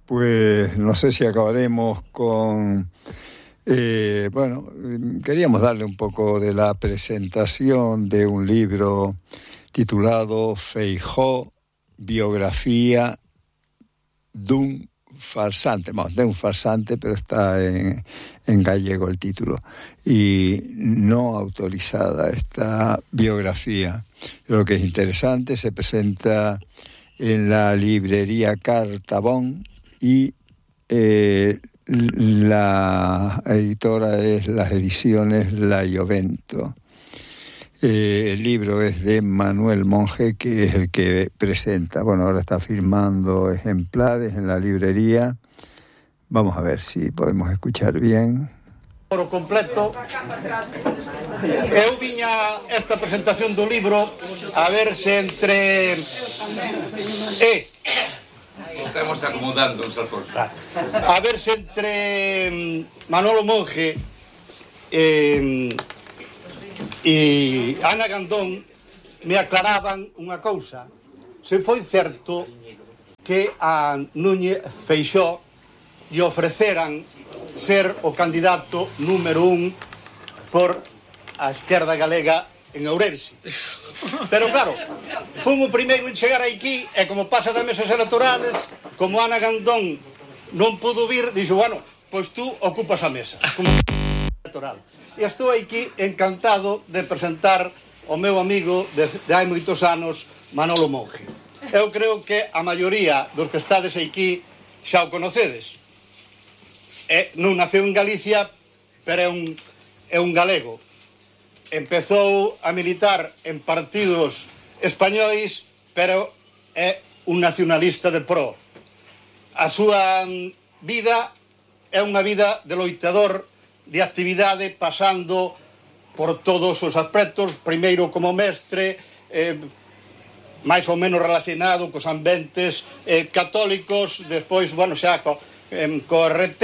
Pues no sé si acabaremos con... queríamos darle un poco de la presentación de un libro titulado Feijóo, biografía dun farsante. Bueno, de un farsante, pero está en gallego el título. Y no autorizada esta biografía. Creo que es interesante, se presenta en la librería Cartabón y la editora es las ediciones La Iovento. El libro es de Manuel Monge, que es el que presenta. Bueno, ahora está firmando ejemplares en la librería. Vamos a ver si podemos escuchar bien. Por completo, eu viña esta presentación do libro a ver se entre... Estamos acomodando os alforjes. A ver se entre Manolo Monge e Ana Gandón me aclaraban unha cousa. Se foi certo que a Núñez Feixóo lle ofreceran ser o candidato número 1 por a esquerda galega en Ourense. Pero claro, fun o primeiro en chegar aquí e como pasa das mesas electorales, como Ana Gandón non pudo vir, dixo, bueno, pois tú ocupas a mesa como electoral. E estou aquí encantado de presentar o meu amigo desde hai moitos anos, Manolo Monge. Eu creo que a maioría dos que estades aquí xa o conocedes. Non naceu en Galicia, pero é un galego. Empezou a militar en partidos españois, pero é un nacionalista de pro. A súa vida é unha vida de loitador, de actividade, pasando por todos os aspectos, primeiro como mestre, máis ou menos relacionado cos ambientes católicos, despois, bueno, xa co RT,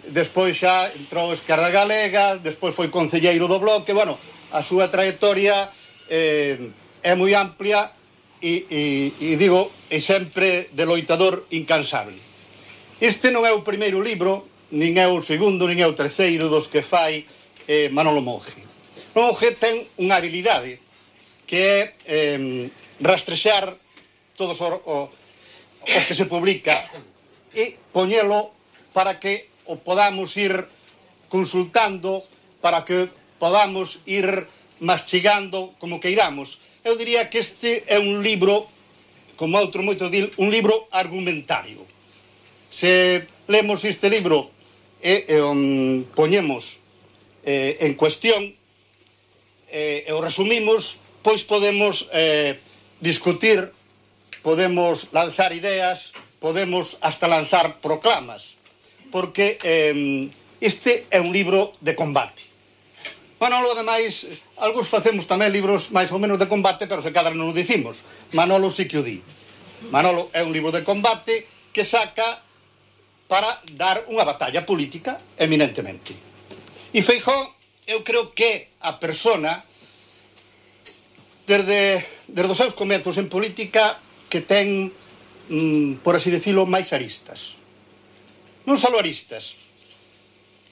despois xa entrou a Esquerda Galega, despois foi concelleiro do Bloque. Bueno, a súa trayectoria é moi amplia e digo, é sempre de loitador incansable. Este non é o primeiro libro, nin é o segundo, nin é o terceiro dos que fai Manolo Monge. Monge ten unha habilidade que é rastrexar todos o que se publica e poñelo para que o podamos ir consultando, para que podamos ir mastigando como queiramos. Eu diría que este é un libro, como outro moito dil, un libro argumentario. Se lemos este libro e poñemos en cuestión e o resumimos, pois podemos discutir, podemos lanzar ideas, podemos hasta lanzar proclamas, porque este é un libro de combate. Manolo, ademais, algúns facemos tamén libros máis ou menos de combate, pero se cadra non o dicimos. Manolo sí que o di. Manolo é un libro de combate que saca para dar unha batalla política, eminentemente. E Feijóo, eu creo que a persona, desde os seus comezos en política, que ten, por así decirlo, máis aristas. Non só aristas,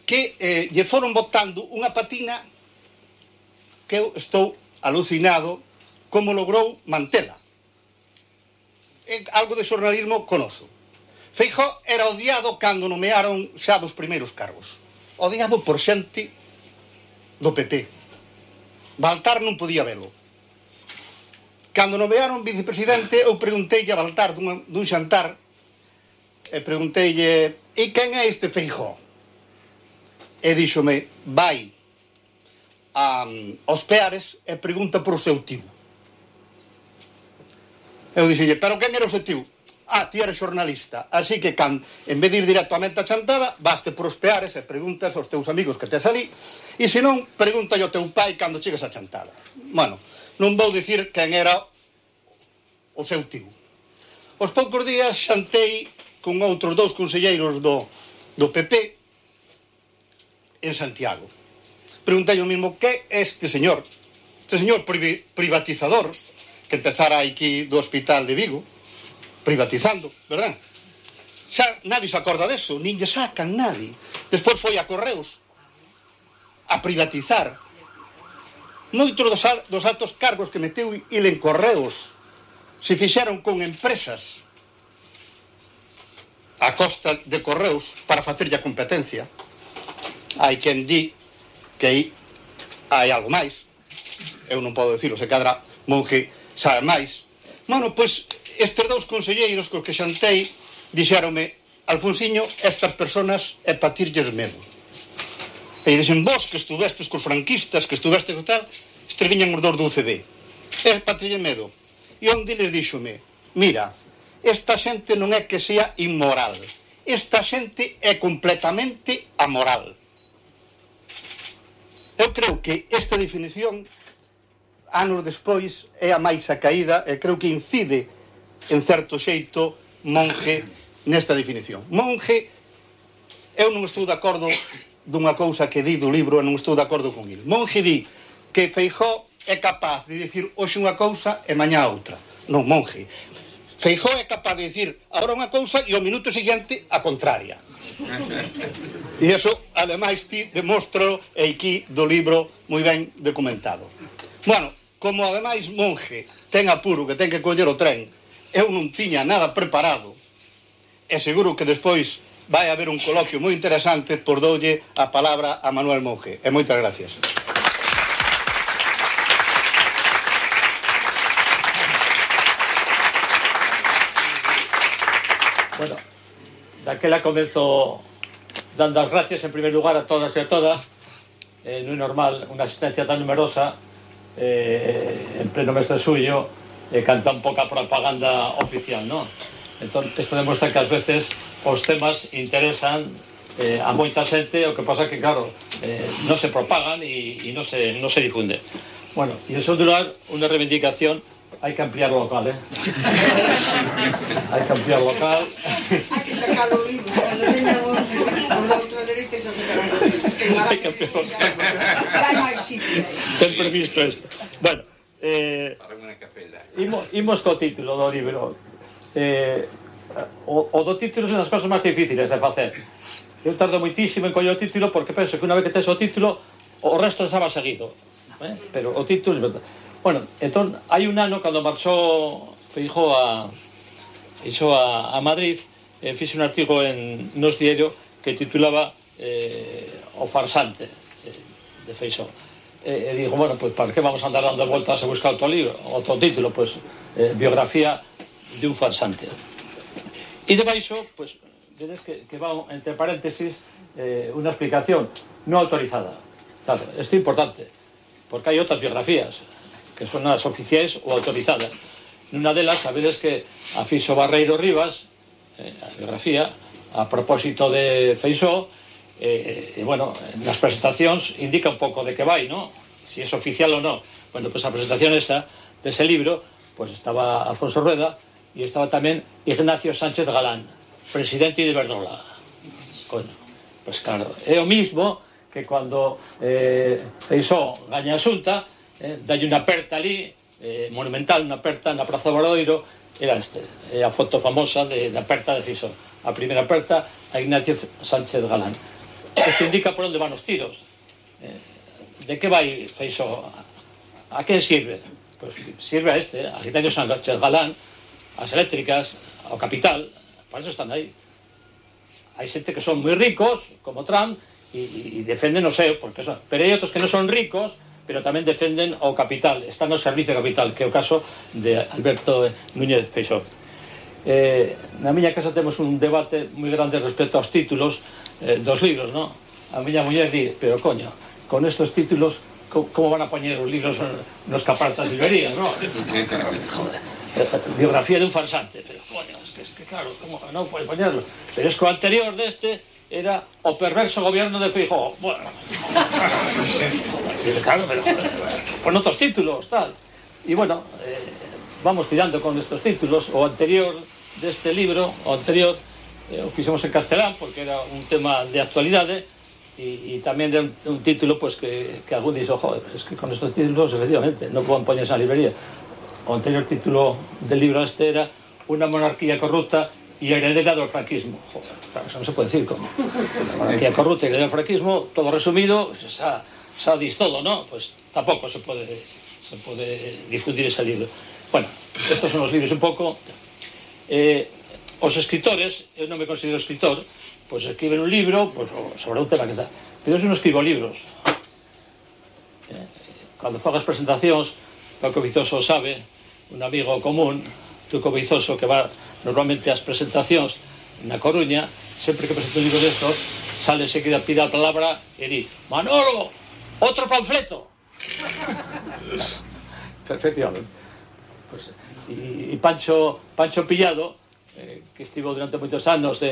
que lle foron botando unha patina que eu estou alucinado como logrou mantela. Algo de xornalismo conozo. Feijóo era odiado cando nomearon xa dos primeiros cargos. Odiado por xente do PP. Baltar non podía velo. Cando nomearon vicepresidente, eu pregunteille a Baltar dun xantar, e pregunteille, e quen é este Feijóo? E díxome, vai aos Peares e pregunta por o seu tío. Eu dixelle, pero quen era o seu tío? Ti eres xornalista, así que en vez de ir directamente a chantada, vaste por os Peares e preguntas aos teus amigos que tes ali, e se non, pregunta ao teu pai cando chegues a chantada. Bueno, non vou dicir quen era o seu tío. Os poucos días xantei con outros dous conselleiros do PP en Santiago. Preguntei o mismo, que é este señor privatizador, que empezara aquí do hospital de Vigo, privatizando, verdad? xa nadie se acorda deso, nin lle sacan nadie. Despois foi a Correos a privatizar. Moitos dos altos cargos que meteu il en Correos se fixeron con empresas a costa de Correos para facerlle a competencia. Hai quen di que hai algo máis. Eu non podo dicilo, se cadra Monge sabe máis. Bueno, pois estes dous conselleiros cos que xantei dixéronme: Alfonsiño, estas personas é pa tirlles medo. E dixen: vos que estuvestes cos franquistas, que estuvestes co tal, estes viñan os dous do UCD, é pa tirlles medo. E onde les díxome: mira, esta xente non é que sea inmoral, esta xente é completamente amoral. Eu creo que esta definición, anos despois, é a máis acaída e creo que incide en certo xeito Monge nesta definición. Monge, eu non estou de acordo dunha cousa que di do libro e non estou de acordo con ele. Monge di que Feijóo é capaz de dicir hoxe unha cousa e mañá outra. Non, Monge. Feijóo é capaz de dicir agora unha cousa e ao minuto seguinte a contraria. E iso, ademais, ti demóstralo e aquí do libro moi ben documentado. Bueno, como ademais Monge ten apuro que ten que coller o tren, eu non tiña nada preparado e seguro que despois vai haber un coloquio moi interesante, por doulle a palabra a Manuel Monge. E moitas gracias. Bueno, daquela comezo dando as gracias en primer lugar a todas e a todas. Non é normal unha asistencia tan numerosa en pleno mes de suyo e canta un pouca propaganda oficial, non? Entón, isto demostra que ás veces os temas interesan a moita xente, o que pasa que, claro, non se propagan e non se difunde. Bueno, e en segundo lugar, unha reivindicación: hai que ampliar o local, hai que ampliar o local. Hai que sacar o libro, cando teñamos os da ultradereita xa sacarán o libro. Hai que ampliar o local. Hai máis sitio. Ten previsto isto. Bueno, imos co título do libro. O do título son as cosas máis difíciles de facer. Eu tardo moitísimo en coller o título porque penso que unha vez que tes o título o resto estaba seguido, pero o título... Bueno, entón, hai un ano cando marchou Feijóo a Madrid, fixe un artigo nos diario que titulaba O farsante de Feijóo. E digo, bueno, pues para que vamos a andar dando voltas a buscar outro libro, outro título, pues biografía de un farsante. E debaixo, pues, vedes que va entre paréntesis unha explicación non autorizada. Claro, isto é importante, porque hai outras biografías que son as oficiais ou autorizadas. Nunha delas, sabedes que a fixo Barreiro Rivas, a biografía, a propósito de Feijóo, e, bueno, nas presentacións indica un pouco de que vai, non? Si é oficial ou non. Bueno, pues a presentación esa, dese libro, pues estaba Alfonso Rueda e estaba tamén Ignacio Sánchez Galán, presidente de Iberdrola. Coño, pues claro, é o mismo que cando Feijóo gaña a Xunta, dalle unha aperta ali, monumental, unha aperta na Praza Obradoiro, era a foto famosa da aperta de Feijóo. A primeira aperta a Ignacio Sánchez Galán. Isto indica por onde van os tiros. De que vai Feijóo? A quen sirve? Pues sirve a Ignacio Sánchez Galán, as eléctricas, ao capital, para eso están aí. Hai xente que son moi ricos, como Trump, e defenden o seu, porque son, pero hai outros que non son ricos, pero tamén defenden o capital, están ao servicio do capital, que é o caso de Alberto Núñez Feijóo. Na miña casa temos un debate moi grande respecto aos títulos dos libros, non? A miña muller di, pero coño, con estos títulos, como van a poñer os libros nos capartas de librerías, non? Joder, biografía de un farsante, pero coño, es que claro, como non pode poñerlos? Pero es que o anterior deste era o perverso gobierno de Feijóo. Bueno, claro, pero con outros títulos, tal. E bueno, vamos tirando con estos títulos. O anterior deste libro, o anterior, o fixemos en castelán, porque era un tema de actualidade, e tamén de un título pues, que algún dixo, joder, es que con estos títulos, efectivamente, non poden poñerse na librería. O anterior título del libro este era Una monarquía corrupta e heredera do franquismo. Joder, claro, eso non se pode decir como monarquía corrupta e heredera do franquismo, todo resumido, xa dis todo, ¿no? Pues tampouco se pode difundir ese libro. Bueno, estos son os libros un pouco. Os escritores, eu non me considero escritor, pois escriben un libro sobre un tema que está. Pero eu non escribo libros. Cando fago as presentacións, Paco Vizoso sabe, un amigo común, Tuco Vizoso, que va normalmente ás presentacións na Coruña, sempre que presento un libro destos, sale enseguida, pide a palabra e di: Manolo, outro panfleto. Efectivamente. Pues, e Pancho Pillado, que estivo durante moitos anos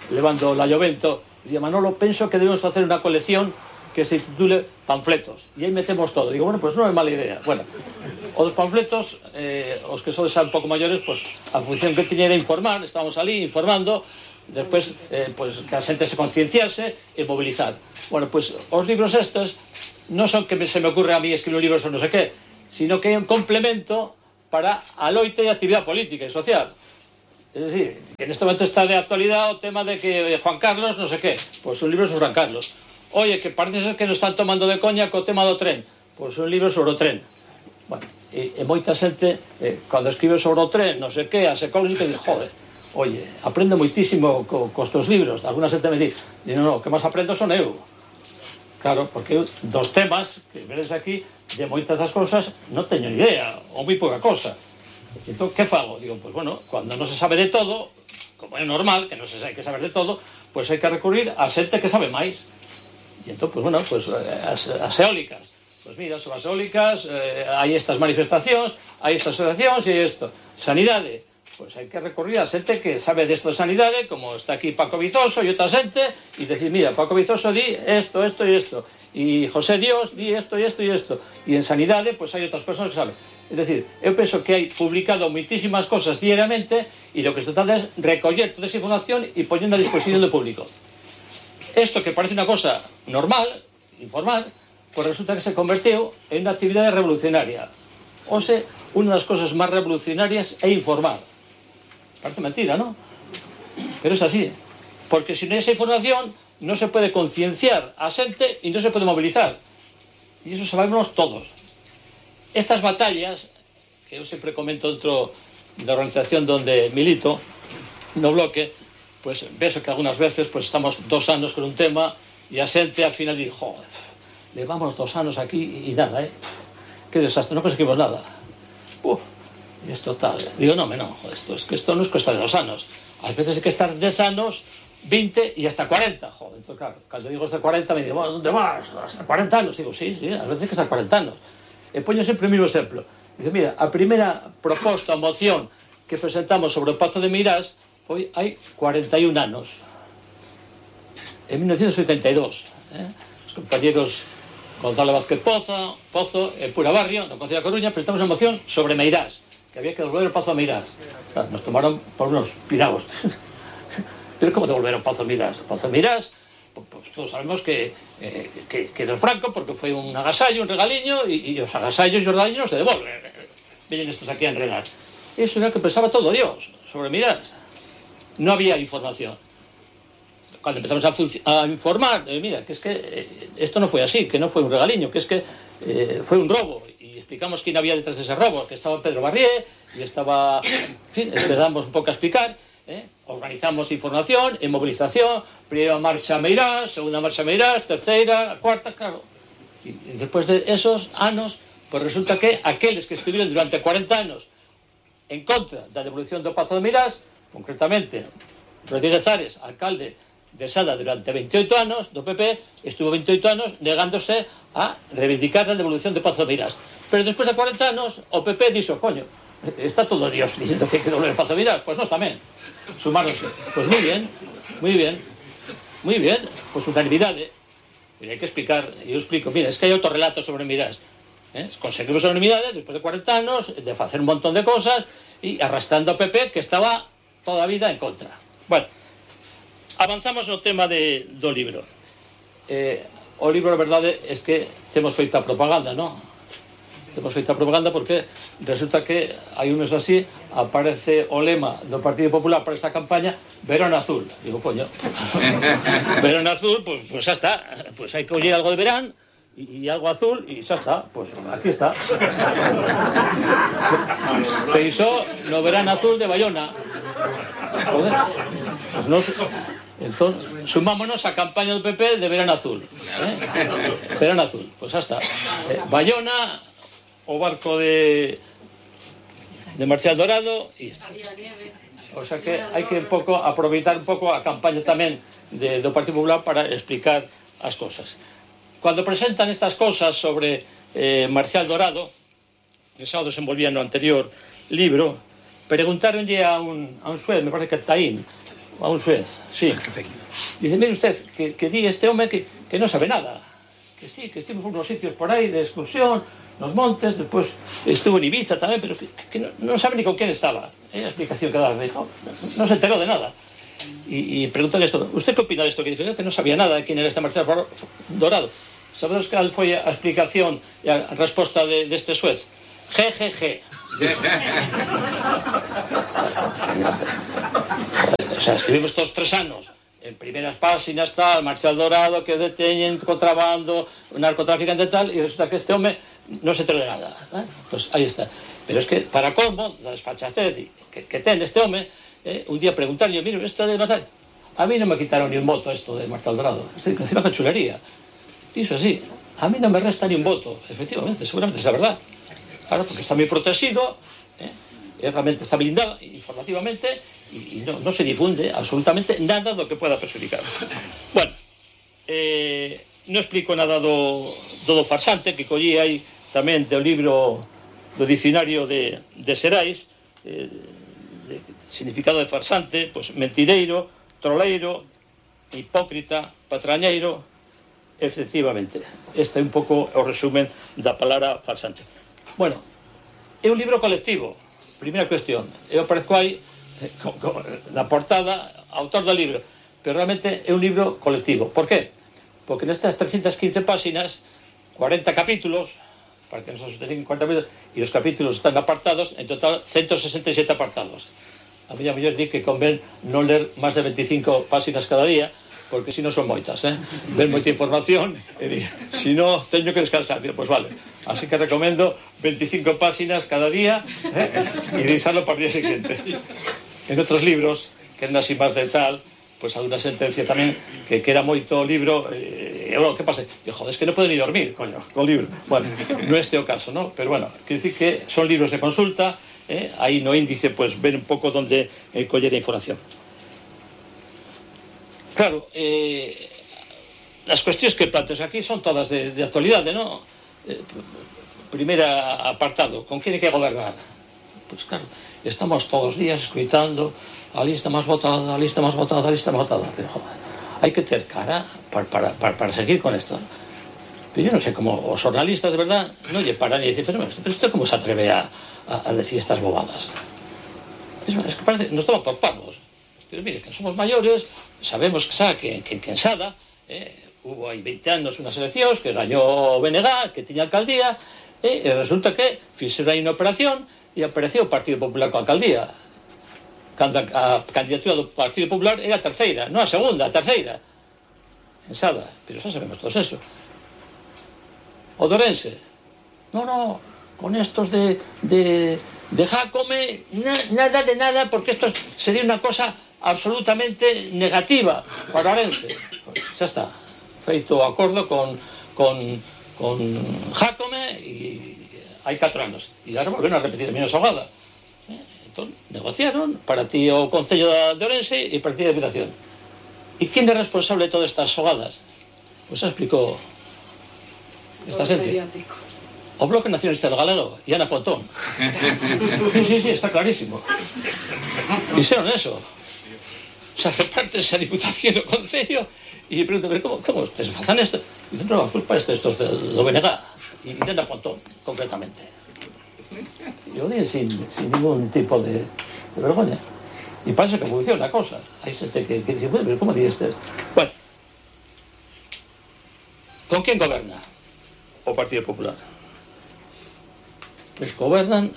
levando la Llovento, dicía: Manolo, penso que debemos facer unha colección que se titule Panfletos, e aí metemos todo. Digo, bueno, pues non é mala idea. Bueno, os panfletos, os que sodes un pouco maiores, pues a función que tiña era informar, estábamos ali informando, despois pues, que a xente se concienciase e mobilizar. Bueno, pues os libros estes non son que se me ocurre a mí escribir un libro sobre non sei que, sino que é un complemento para a loita e a actividade política e social. Es decir, que en este momento está de actualidad o tema de que Juan Carlos non sei que, pois un libro sobre Juan Carlos. Oye, que parece ser que nos están tomando de coña co tema do tren, pois un libro sobre o tren. Bueno, e moita xente, cando escribe sobre o tren, non sei que, as ecoloxicas, di, joder, oye, aprendo moitísimo cos teus libros. Alguna xente me di, no, que máis aprendo son eu. Claro, porque eu, dos temas que veres aquí, de moitas das cousas, non teño ni idea, ou moi pouca cosa. Entón, que fago? Digo, pues bueno, cando non se sabe de todo, como é normal, que non se hai que saber de todo, pues hai que recurrir a xente que sabe máis. E entón, pues bueno, pues as eólicas. Pues mira, son as eólicas, hai estas manifestacións, hai estas asociacións e isto. Sanidade, pues hai que recurrir a xente que sabe desto de sanidade, como está aquí Paco Vizoso e outra xente, e decir, mira, Paco Vizoso di esto, esto e isto, e José Dios di esto e isto e isto, e en sanidade, pues hai outras persoas que saben. Es decir, eu penso que hai publicado moitísimas cosas diariamente e o que se trata é recoller toda esa información e poñendo a disposición do público. Esto que parece unha cosa normal, informal, pues resulta que se converteu en unha actividade revolucionaria. O sea, unha das cosas máis revolucionarias é informar. Parece mentira, ¿no? Pero es así. Porque sin esa información non se pode concienciar a xente e non se pode mobilizar. E iso sabemos todos. Estas batallas, que eu sempre comento dentro da organización donde milito, no bloque, pues ves que algunas veces pues estamos 2 anos con un tema e a xente al final di, joder, levamos 2 anos aquí e nada, que desastre, non conseguimos nada. E isto tal, digo, no, esto non es cuesta de 2 anos. Ás veces hai que estar 10 anos, 20 e hasta 40, joder, entón claro, cando digo hasta 40 me digo, bueno, ¿dónde vas? Hasta 40 anos, digo, sí, ás veces hai que estar 40 anos. E poño sempre o mesmo exemplo. Dice, mira, a primeira proposta, moción que presentamos sobre o Pazo de Meirás foi hai 41 anos. En 1982. Os compañeros Gonzalo Vázquez Pozo e Pura Barrio, no Concello da Coruña, presentamos unha moción sobre Meirás, que había que devolver o Pazo de Meirás. Claro, nos tomaron por unos piraos. Pero como devolver o Pazo de Meirás? O Pazo de Meirás, pues todos sabemos que do Franco, porque foi un agasallo, un regaliño, e os agasallos e os regaliños se devolven. Vienen estos aquí a enredar. Eso era o que pensaba todo Dios sobre Meirás. No había información. Cuando empezamos a informar, mira, que es que esto no fue así, que no fue un regaliño, que es que fue un robo. Y explicamos quién había detrás de ese robo, que estaba Pedro Barrié, y estaba, en fin, esperamos un pouco a explicar, organizamos información e movilización, primeira marcha Meirás, segunda marcha Meirás, terceira, cuarta, claro. Y después de esos anos, pues resulta que aqueles que estuvieron durante 40 anos en contra da devolución do Pazo de Meirás, concretamente Rodríguez Ares, alcalde de Sada durante 28 anos do PP, estuvo 28 anos negándose a reivindicar a devolución do Pazo de Meirás. Pero despois de 40 anos o PP dixo, coño, está todo Dios diciendo que hai que devolver o Pazo de Meirás, pues nós tamén sumáronse. Pues moi bien, pues unanimidade. Pero hai que explicar, eu explico, mira, es que hai outro relato sobre Meirás. Conseguimos a unanimidade despois de 40 anos de facer un montón de cosas e arrastrando ao PP que estaba toda a vida en contra. Bueno, avanzamos no tema do libro. O libro, a verdade, é que temos feita propaganda, non? temos feita propaganda porque resulta que hai un mes así aparece o lema do Partido Popular para esta campaña, verano azul. Digo, coño, verano azul, pues xa está, pues hai que oír algo de verán y algo azul y xa está, pues aquí está. Feixóo no verano azul de Bayona. Joder, pues no. Entón, sumámonos a campaña do PP de verano azul. Verano azul, pues xa está. Bayona, o barco de Marcial Dorado e está. O sea que hai que aproveitar un pouco a campaña tamén do Partido Popular para explicar as cosas. Cando presentan estas cosas sobre Marcial Dorado, que xa o desenvolvía no anterior libro, preguntáronlle a un suez, me parece que Taín, a un suez, sí. Dice, mire usted, que di este home que non sabe nada. Que sí, que estivemos por unos sitios por aí de excursión, nos montes, despois estuvo en Ibiza tamén, pero que non sabe ni con quen estaba. É a explicación que daba, non se enterou de nada. E preguntóle isto, usted que opina desto que dice? Que non sabía nada de quen era este Marcial Dorado. Sabedes cal foi a explicación e a resposta deste suez? GGG. O sea, escribimos todos 3 anos en primeras páxinas tal, Marcial Dorado que deteñen contrabando, narcotraficante tal, e resulta que este home non se enterou de nada, pues aí está. Pero es que para colmo da desfachatez que ten este home, un día preguntarlle, mire, isto de Marcial, a mí non me quitaron ni un voto esto de Marcial Dorado, encima que chulería. Iso así, a mí non me resta ni un voto, efectivamente, seguramente es a verdad. Claro, porque está moi protegido, realmente está blindado informativamente e non se difunde absolutamente nada do que pueda perjudicar. Bueno, non explico nada do farsante que collí aí tamén do libro do dicionario de Xerais, significado de farsante, pues mentireiro, troleiro, hipócrita, patrañeiro, efectivamente. Este é un pouco o resumen da palabra farsante. Bueno, é un libro colectivo, primeira cuestión. Eu aparezco aí na portada, autor do libro, pero realmente é un libro colectivo. Por qué? Porque nestas 315 páxinas, 40 capítulos, para que non se sostengan 40 capítulos, e os capítulos están apartados, en total 167 apartados. A mí mellor di que convén non ler máis de 25 páxinas cada día, porque si non son moitas, ven moita información e si non teño que descansar, pois vale, así que recomendo 25 páxinas cada día e deixarlo para o día seguinte. En outros libros que eran así máis de tal, pois hai unha sentencia tamén que era moito libro, que pasa? Joder, es que non podo ni dormir, coño, con libro. Bueno, non este é o caso, ¿no? Pero bueno, quero dicir que son libros de consulta, aí no índice pois ven un pouco onde coller a información. Claro, as cuestións que planteos aquí son todas de actualidade, non? Primeira apartado, con quen hai que gobernar? Pois claro, estamos todos os días escuitando a lista máis votada, a lista máis votada, a lista máis votada, pero joder, hai que ter cara para seguir con esto. Pero yo non sei como os jornalistas, de verdad, non lle paran e dicen, pero usted como se atreve a decir estas bobadas? Es que parece, nos toman por pavos. Pero mire, que somos maiores, sabemos que en Sada hubo aí 20 anos unhas eleccións que gañou o BNG, que tiña alcaldía, e resulta que fixeron aí unha operación e apareceu o Partido Popular coa alcaldía. Cando a candidatura do Partido Popular era a terceira, non a segunda, a terceira. En Sada, pero xa sabemos todos eso. O Dorense, non, con estos de Jácome, nada de nada, porque esto sería unha cosa absolutamente negativa para Orense. Xa está, feito o acordo con Jácome e hai 4 anos e agora volveron a repetir a mesma xogada. Entón, negociaron para ti o Concello de Orense e para ti a Deputación. E quen é responsable de todas estas xogadas? Pois xa explicou esta xente. O Bloque Nacionalista do Galego e Ana Pontón. Sí, está clarísimo. Dixeron eso. O sea, repartes a Diputación do Concello e preguntan, como ustedes facen isto? E dicen, non, a culpa é estos do BNG e de Ana Pontón, concretamente. E o dicen sin ningún tipo de vergoña. E parece que funciona a cosa. Hai xente que dice, bueno, pero como dices isto? Bueno, con quen goberna o Partido Popular? pois gobernan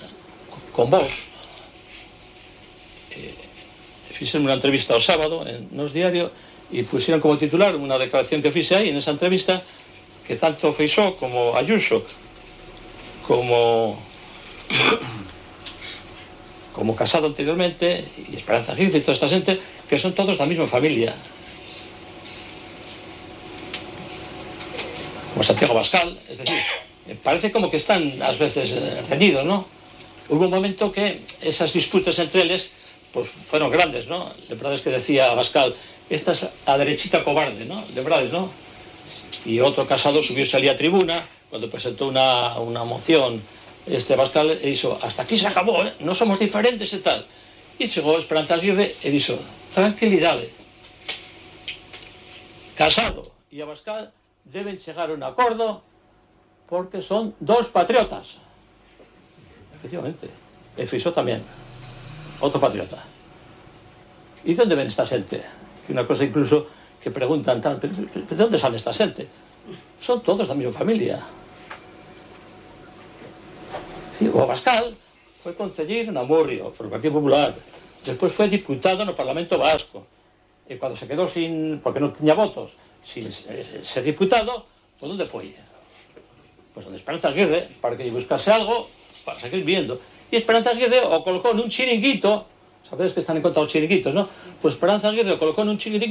con vos. Fixen unha entrevista o sábado en Nos Diario e puxeron como titular unha declaración que fixe aí en esa entrevista, que tanto Feixóo como Ayuso como Casado anteriormente e Esperanza Aguirre e toda esta xente, que son todos da mesma familia, como Santiago Abascal. Es decir, parece como que están ás veces reñidos, ¿no? Hubo un momento que esas disputas entre eles pues fueron grandes, ¿no? Lembrades que decía Abascal, esta es a derechita cobarde, ¿no? Lembrades, ¿no? Y otro Casado subióse ali a tribuna cuando presentó una moción Abascal e dixo, hasta aquí se acabó, non somos diferentes e tal. E chegou Esperanza Aguirre e dixo, tranquilidade, Casado e Abascal deben chegar a un acordo porque son dos patriotas. Efectivamente. E Feixóo tamén, outro patriota. E de onde ven esta xente? Que unha cosa incluso que preguntan tal, pero de onde sale esta xente? Son todos da mesma familia. Sí, o Abascal foi concelleiro na Murrio, por o Partido Popular. Despois foi diputado no Parlamento Vasco. E cando se quedou sin, porque non tiña votos, sin ser diputado, pues onde foi? Pues onde Esperanza Aguirre, para que lle buscase algo para seguir viendo. E Esperanza Aguirre o colocou nun chiringuito, sabedes que están en contra os chiringuitos, ¿no? Pues Esperanza Aguirre o colocou nun chiringuito